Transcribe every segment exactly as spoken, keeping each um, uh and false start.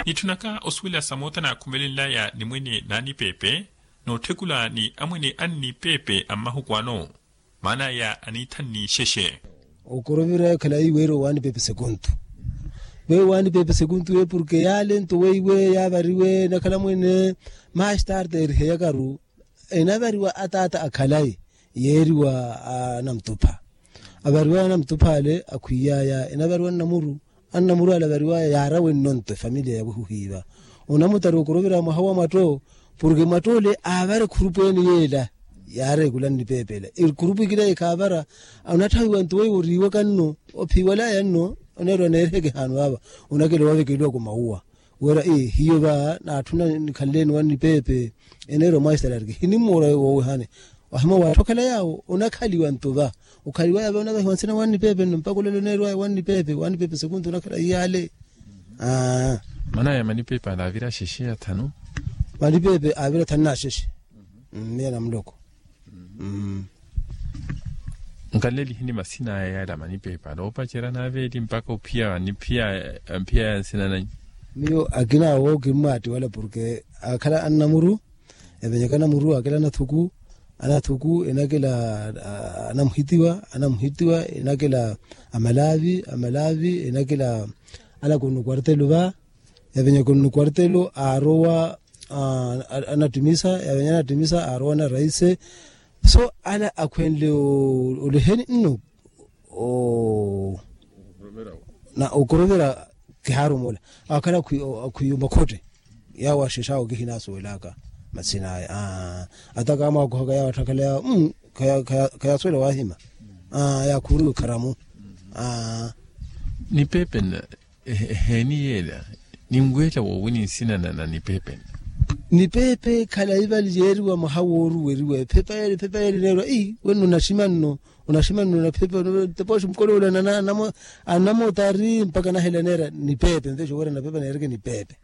Nitthunaka osuwela samoota naakhumelenlaya nimwene n'anipeepe, nootthekula ni amwene annipeepe a mmahuku ano. Maan'aya aniithanni ixexe. Okoroviraya khalayi weeriwa waanipeepe sekuntu. Weeriwa waanipeepe sekuntu we porke yaalentu weiwe yaavariwe enakhala mwene. Maasi tarde eriheyakaru enavariwa ataata akhalayi yeeriwa anamutupha. Avariwaya anamutupha ale akhwiyaya enavariwa nnamuru. Annamuru ale avariwaya yaara wenno nto efamiliya ya wehuhiiva. Onamutari okorovera mwaha wa mwatto porke mwatto ole aavara ekhurupu ene yeela. Yaara ekula nnipeepela ekhurupu ekila ekhaavara. Onatthawiwa nto weiwe oriiwaka nno ophiwalaya nno oneerwa neeriheke haanu aava. Onakela owavekelwaka omauwa wira hiyo va naatthuna nikhanleeni wannipeepe. Eneerwa mwaisitalariki hinimmoora wowehane. Wahimwa waatthokhela yaawo onakhaliwa nto va okhaliwaya va onavehiwa nsina wannipeepe nno mpaka olelo oneerwaya wannipeepe wannipeepe sekuntu onakhala iyaale. Manaya manipeepe ale aavira axexe athanu. Manipeepe aavira athanu n'axexe. Miya na muloko. Nkaleli hini masin'aya yale amanipeepa noopacerya naaveeli mpaka ophiya aniphiya ya nsina nanyu. Miyo akina awo kimmwaattiwala porke akhala annamuru. Evenyaka namuru akela anathuku. Anathuku enakela anamuhitiwa anamuhitiwa enakela amalaavi amalaavi enakela alaka onno kwartelo va. Yavenyaka onno kwartelo aarowa anattimisa yavenyaka anattimisa aarowa na raise. So ala akhwenle oleheni nno na okorovera kihaarumola akhala akhwiya omakhotte. Yawo axexe awo kihinasuwelaka masin'aya ata kaamwakuhaka yawo atthakhala yawo. Khayasuwela wahima yaakhuuriwa ekharamu. Nipeepe nna eheeni yeela ninweela woowi ni nsina na nipeepe nna. Nipeepe khalayi vali yeeriwa mwaha wooruweriwa ephepa yeela ephepa yeela eneerwa ii wenno onaxima nno. Onaxima nno na phepa tepoxi mukolowola anamotari mpaka anahela neera nipeepe nvexa owerya na phepa neereke nipeepe.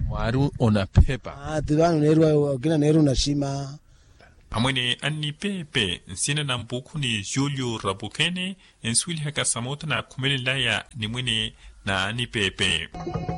Mwaari onaphepa. Ti vano neeriwa okina neeri onaxima. Amwene annipeepe nsina na mpuukhuni julio rapukene ensuwelihaka samoota naakhumelenlaya nimwene n'anipeepe.